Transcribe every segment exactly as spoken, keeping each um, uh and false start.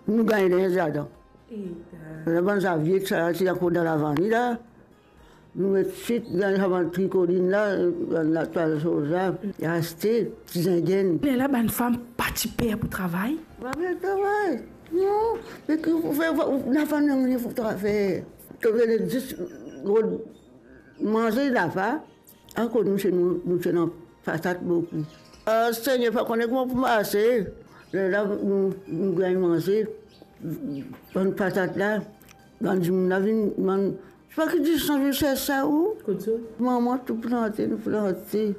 Nou gagn linz ladan. Labann zavie, sa ti ankor dan lavani la. Nou met swit dan sa bann trikolin la, bann latwal soz la, aste, ti zingenn. Lerla bann fam pa ti per pou travay? Pa per travay. Non, me ki pou fer, ou napa nanye pou tra-, fer. To vinn zis rod manze, napa. Akoz nou ti, nou, nou ti ena patat boukou. Ah, Segner, pa kone kouma pou marse. Lerla nou, nou gagn manze, bann patat la, bann dimoun la vinn, bann, pa ki distans vinn sers sa ou? Kot zot? Mama tou plante, nou plante.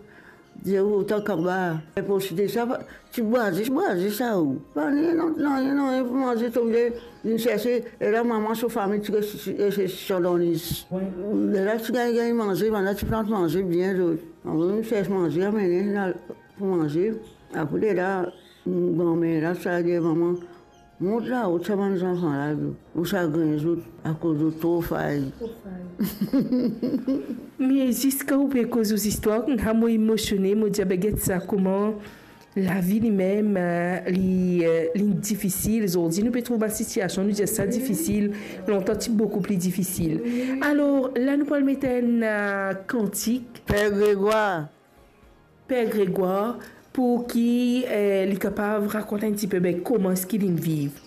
Dir ou, otan kaba. Enposib sa, pa, ti bwaze, ti bwaze sa ou. Pa nanye, non, nanye, nanye pou manze, to vinn, vinn serse, e la mama so fami ti res, res, res dan lis. Wi. Lerla ti gagn, gagn manze, bann la ti plant manze bien zot. Apre nou sers manze, amene, al pou manze. Apre lerla, granmer la, sa dir mama, mont lao, sa bann zanfan la, ou sagrin zot, akoz zot tro fay. Tro fay. Me ziska ou pe koz ou zistwar, koumsa mo emosione, mo dir, be get sa, kouma lavi limem, eh, li, eh, li difisil. Zordi nou pe trouv bann sitiasion, nou dir sa difisil, lontan ti boukou pli difisil. Alor, la nou pou al met enn, eh, kantik. Per Gregwar. Per Gregwar, pou ki, eh, li kapav rakont enn tipe, be, kouma eski li viv.